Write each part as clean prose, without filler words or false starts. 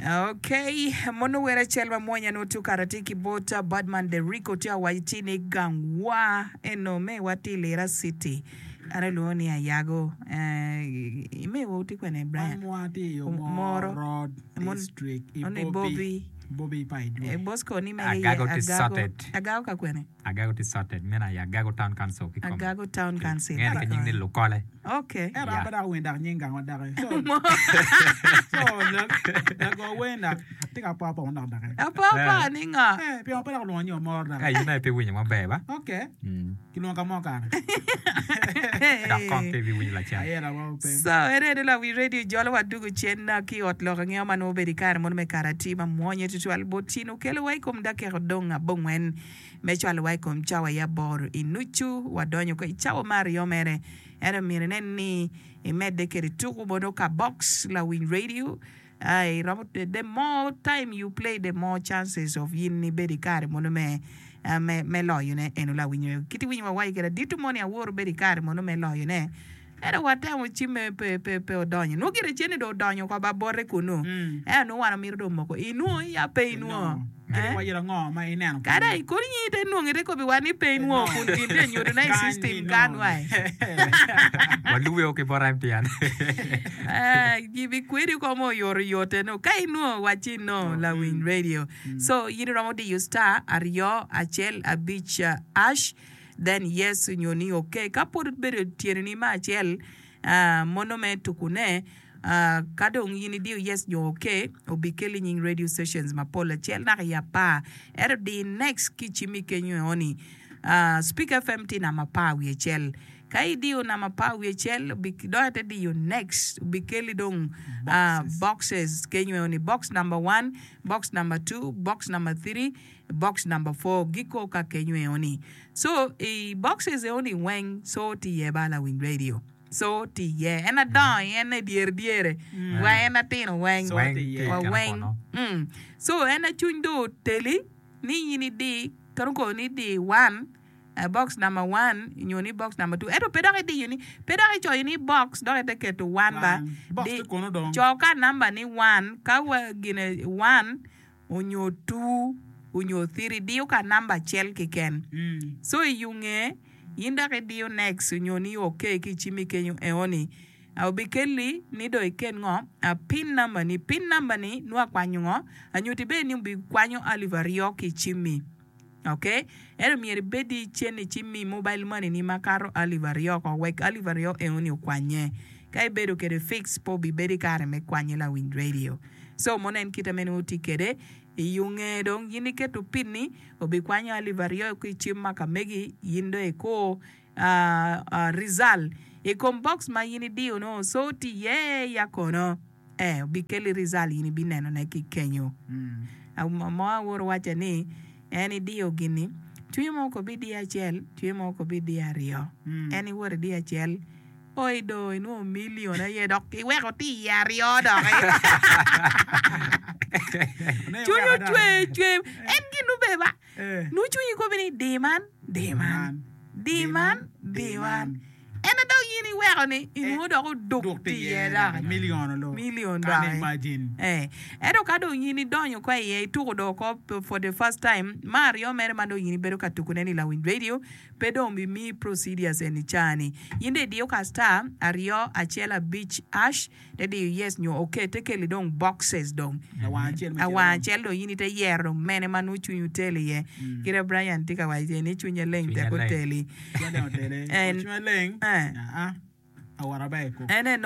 Ok, mono wer acel ma mwonya nongo tye okato atir ki bot Badman Derrico tye awaco ci ni gangwa eno mewa tye i Lira City an alwongo ni Ayago eh, mewa tye kwene Brian? Wan tye i Omoro Omoro Road District i Ono i Bobi Bobi Bobi pa Eh, Idwe. Bosco ni mege iye Agago tye Agago sorted. Agago ka kwene? Agago tye sorted meno aye Agago Town Council kikome. Agago Town Council Ngene ki nying ni Lukole. Okay. Ento an Yeah. pe dok awinyo dok nying gangwa doki. So, so lago wer dok tye ka po apo dok doki. Apo apo ni ngo? Eh, pingo pe dok olwongo ni Omoro Ka doki? in aye pe iwinyo maber ba? Okay. Mm. Kilwongo ka mo kare. Dok kong pe ibiwinyo lacen. Ayela wa pe. So, en ene lawi radio jolo wa dugo cen na ki ot lok angewa ma nongo obedo i kare mono me kare atir ma mwonye tutwal bot cin okelo wa i kom dakika odong abongwen me cwalo wa i kom cawa i aboro i nucu wadonyo ko i cawa me aryo mere ento myero inen ni imedde kede tuku mono ka box lawiny radio Ai romo the more time you play the more chances of in ibedo i kare mono me me me loyo ne eno lawinyo kit iwinyo wa waco kede adito moni awor bedo i kare mono me loyo ne ento watemo cimme pe pe pe odonyo nwo gire cen ni dong odonyo oko ba bote kunu ento nwo wan omito dong moko inwo ya pe inwo Kadi wa yito ango ma ineno kunu. Kadi ai kodi nyingi te nwongi te kobi wa ni pe inwo kun gin tye nyuto ne i system kan wai. Walube ki bot MTN. Gibi kwedi ko mo oyoto yote no ka inwo waci no lawiny radio. So in iromo diyo star aryo acel abic ash then yes nyo ni ok ka pwod obedo tyeni ni me acel Mono me tuku ne, ka dong in idiyo yes nyo ok, obikelli nying radio stations mapol acel naka i apar. Ento di next ki cimmi kenyo eoni, Speak FM tye namba apar wiye acel. Ka idiyo namba apar wiye acel, dong ite diyo next, obikelli dong boxes kenyo eoni, box number one, box number two, box number three, box number four, giko ka kenyo eoni. So i boxes eoni weng so tye iye ba lawiny radio so tye iye en adongo i en dyere dyere wa en atino weng So tye iye. wa weng mm. So en acuny dong oteli ni in idi kadi kono ni idi one box number one nyo ni box number two ento pe dok idiyo ni pe dok icoyo ni box dok ite keto one ba One. Box di tye kono dong. co ka namba ni one ka wa gine one onyo two onyo three diyo ka namba acel keken so i yunge in dok idiyo next onyo ni ok ki icimi kenyo eoni obikelli ni dong iket ngo pin namba ni pin namba ni nongo akwanyo ngo anyuti bene ni obikwanyo alip aryo ki icimmi ok ento myero ibed cen icimmi mobile money ni makato alip aryo oko wek alip aryo eoni okwanye ka ibedo kede fix pe obibedo ikare me kwanye lawiny radio. Co mono en kite mene oti kwede i yunge dong in iketo pinni obikwanyo alip aryo ki i cim ma ka megi in dong ikur rizal i kom box ma in idiyo nongo co tye iye ya kono ee obikelli rizal in ibineno ne ki kenyo mo awoto wacca ni en idiyo gini cwinye mo ko bidiyo acel cwinye mo ko bidiyo aryo en iwoto idiyo acel Oi do inwongo million aye dok iweko tye iye aryo doki. Cwiny ocwer cwer en gin nube ba nongo cwinyi kobi ni di man di man di man di man ento dok in iweko ni inwongo dok oduk tye iye doki million doki ento ka dong in idonyo kwa iye ituko dong oko for the first time me aryo mere ma dong in ibedo ka tukone ni lawiny radio Pe dong obimiyi procedures eni caa-ni. In dong idiyo ka star aryo acel abic ash te diyo yes nyo ok te keli dong boxes dong. Awang acel dong in ite yero dong mene ma nongo cwinyi oteli iye. Kite Brian tye ka waco ni cwinye leng tek oteli. En eh. Ene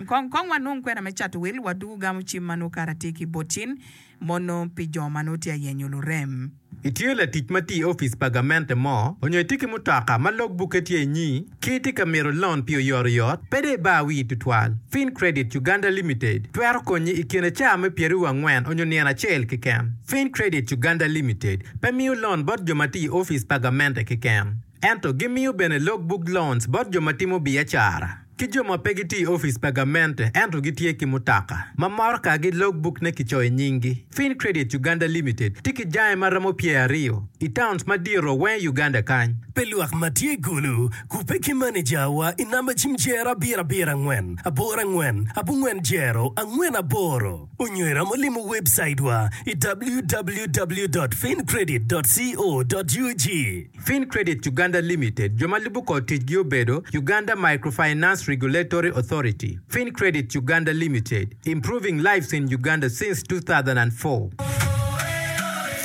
kong kong wanong kwena me cato wil, wadugu gamo cim ma nongo kara tye ki bot cin mono pi jo ma nongo tye ayenyo lurem. Itye latic ma tye i opic pa gamente mo, onyo itye ki mutoka ma log bukke tye inyi, ki itye ka mito lon pi oyotoyot, pe dong ibar wii tutwal. Fincredit Uganda Limited twero konyi i kine caa me pyeraryo angwen onyo nino acel keken. Fincredit Uganda Limited pe miyo lon bot jo ma tye i opic pa gamente keken. Ento gimiyo bene log book loans bot jo ma timo biacara. ki jo ma pe gitye i opic pa gamente ento gitye ki mutoka ma motokagi logbukne kicoyo nyinggi. Fincredit Uganda Limited tye ki jange ma romo pyeraryo i towns madito weng i Uganda kany. Pi lwak ma tye i Gulu, kubbe ki manejawa i namba cim jero abiro abiro angwen aboro angwen abongwen jero angwen aboro onyo iromo limo webcaitwa i www dot fincredit dot co dot ug. Fincredit Uganda Limited jo ma lubo kor ticgi obedo Uganda Microfinance Regulatory Authority, Fincredit Uganda Limited, Improving lives in Uganda since 2004.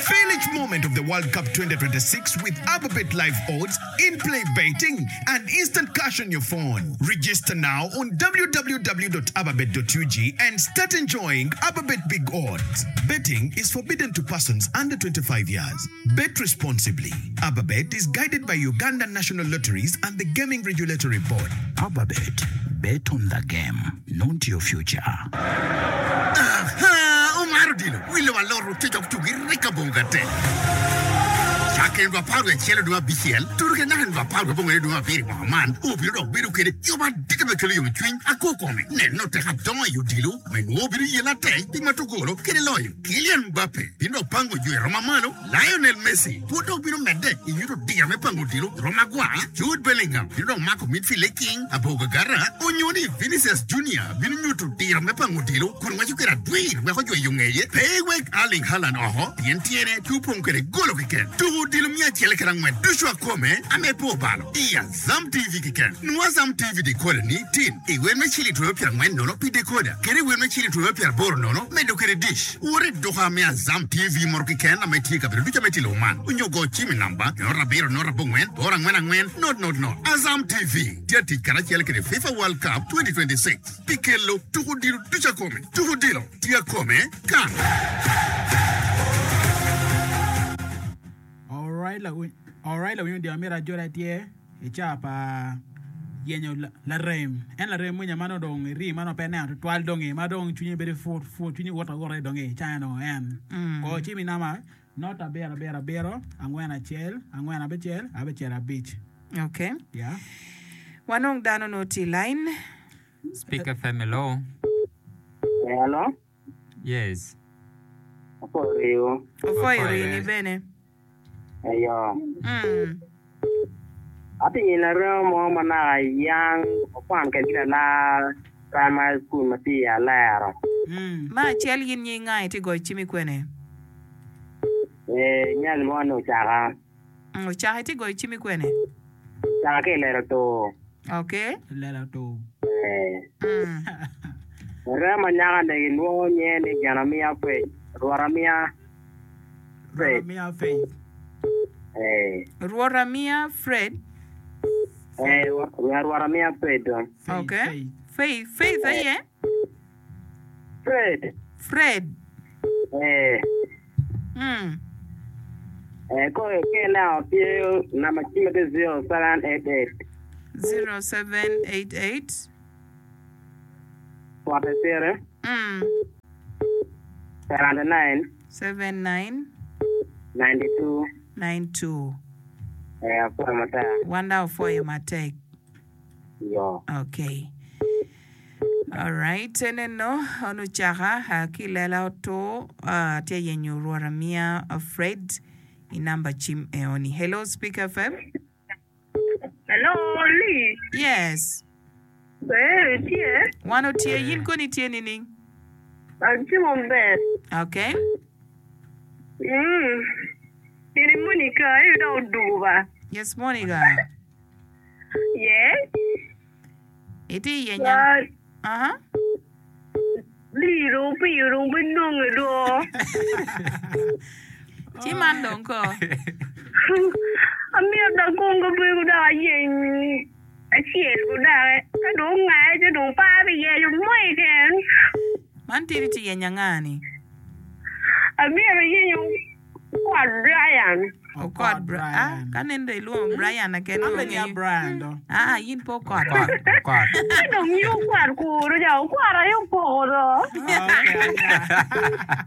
Feel each moment of the World Cup 2026 with Ababet Live Odds, in-play betting, and instant cash on your phone. Register now on www.ababet.ug and start enjoying Ababet Big Odds. Betting is forbidden to persons under 25 years. Bet responsibly. Ababet is guided by Uganda National Lotteries and the Gaming Regulatory Board. Ababet, bet on the game, not your future. Aha! Omaro odilo, wi lobo alot ococo tugi rika bongo gate. Cakke nino apar wiye acel dwe abicel tuto ki naka nino apar wiye abongwen dwe abiro i mwaka man, obino dok bedo kede yub madit me kelo yomcwiny ako kome. Neno tek adongo i odilo me nwo obino yela atek pi mato golo kede loyo. Kylian Mbappe bino dok pango jo i rom mamalo, Lionel Messi pud dok bino medde i nyuto diro me pango odilo i rom agwar, Jude Bellingham bino dok mako midfield i king abogagara, onyo ni Vinicius Junior bino nyuto diro me pango odilo kun ngweco kwede adwir wek ojwe yo ngeye. Pe iwek Erling Haaland oko pien tyene tye opong kwede golo keken. Tuko odilo miya acel kede angwen ducu akome ame pe obalo i Azam TV keken. Nwo Azam TV decoder ni tin i wel me ciling twero pyerangwen nono pi decoder kede i wel me ciling twero pyeraboro nono medo kede dish. Wot i duka me Azam TV moto keken ame tye i kabedo ducu ame tye i lobo man onyo go cim i namba not abiro not abongwen boro angwen angwen not not not. Azam TV tye atic karacel kede FIFA World Cup 2026 pi kelo tuko odilo ducu akome. Tuko odilo tye akome kan. Alright lawiny odilo amito ajola tye i caa pa yenyo larem en larem mwinya ma nongo dong iri ma nongo pe ineno tutwal dongi ma dong cwinyi bedo put put cwinyi woto awota dongi i caa eno en go cim i namba not abiro abiro abiro angwen acel angwen abicel abicel abic. Okay. Yeah. Wanong dano nongo tye i line. Speak FM hello. Hello. Yes. Apwoyo riwu. Opwoyo rini bene. Eyo. Mm. Atye nyi larema mo ma naka yang wakwan kwedgi lalar primary school ma tye i Alero. Me acel in nying nga itye goyo cim i kwene? Ee, nya gilwonga ni Ocaka. Mm, Ocaka itye goyo cim i kwene? Ocaka ki i Lelo Tur. Okay. Lela tur. Ee. Mm. Larema nyaka-ni gilwongo nyinge ni Genamiya Faith, Rwotamiya Fred. Rwotamiya Faith. Ee. Rwotamiya Fred. Ee, Rwotamiya Fred dong. Faith, Okay. Faith. Faith, Faith aye? Fred. Fred. Ee. Mm. Ee, koro ka ineno tye namba cimme tye 0788. 0788. 43. Mm. 79. 79. 92. 92. Ee, apwoyo matek. Wanda opwoyo matek. Yo. Okay. Alright, eneno on ocaka ah, ki lela otur ah, tye yenyo Rwot amiya ah, Fred i namba cim eoni. Hello Speak FM. Hello, Lee. Yes. Ber, itye? Wan otye, yin koni itye nining? Atye maber. Okay. Mm. Ini Monica, aye dok odugo ba. Yes, Monica. Yes. Itye i yenya. Aha. Lii dong piyo dong pe nonge do. Ci man dong ko. Amito dok kong kabedo dok ayeny acel ko doki. Ka dong ongaye ci dong pe abiyenyo mo keken. Man tye itye yenyo anga ni? Amito ayenyo Okot Brian. Okot Brian. Ah, ka nen dong ilwongo Brian keken An bene ya Brian do. Ah, in pe Okot. Okot, Okot. Ka dong in Okot kuru ja, Okot aye opoko do.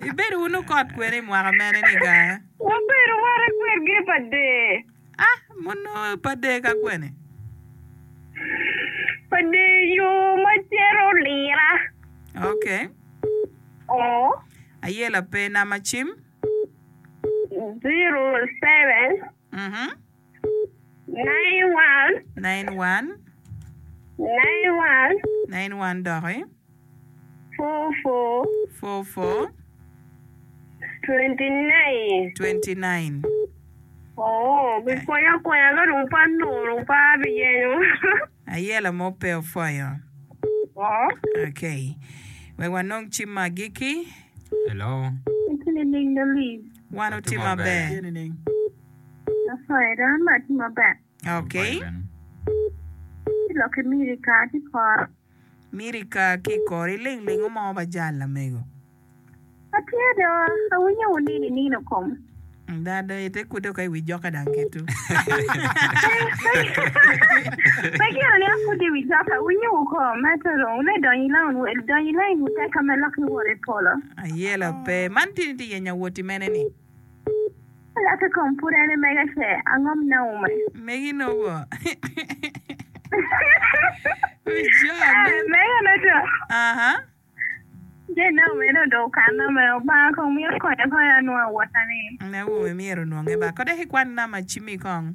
Ibedo wun Okot kwene i mwaka mene ni ga? Wabedo wate kwedgi pa dee. Ah, mono pa dee ka kwene? Pa deyo ma cito lira. Ok. Oo. Ayela pe nama cim. 07. Mhm. 91. 91. 91. 91 doki. 44. 44. 29. 29. Oo, bipwonya akwenya ka dong pe anongo dong pe abiyenyo. Ayela mo pe opwoyo. Oo. Okay. Wek wanong cim ma agikki. Hello. Itye nining do Liz? Wan Watye otye maber. maber. Tye nining? Apwoyo do an bene atye maber. Okay. Apwoyo bene. Ci lok ki Mirika ki kora. Mirika ki kori ling ling omo ba jal lamego. Atye do, awinyo wu nino i nino kom. Da do ite kude ka i wi joka dang ketu. Pe gire ni akude i wi joka, awinyo wu kom, ento dong ne donyo i lain wel, donyo i lain wu tek ka me lok i wot i polo. Ayela pe. Man tini tye yenyo awoti mene ni? Lok i kom pud en mega ce, angom Naume. Megi nogo. Wi jone. Mega noto. Aha. Je Naume no do okanna me Obanga kong mito konya konya anwongo awota ni. Naume myero onwonge ba. Kode ki kwan nama cimi kong.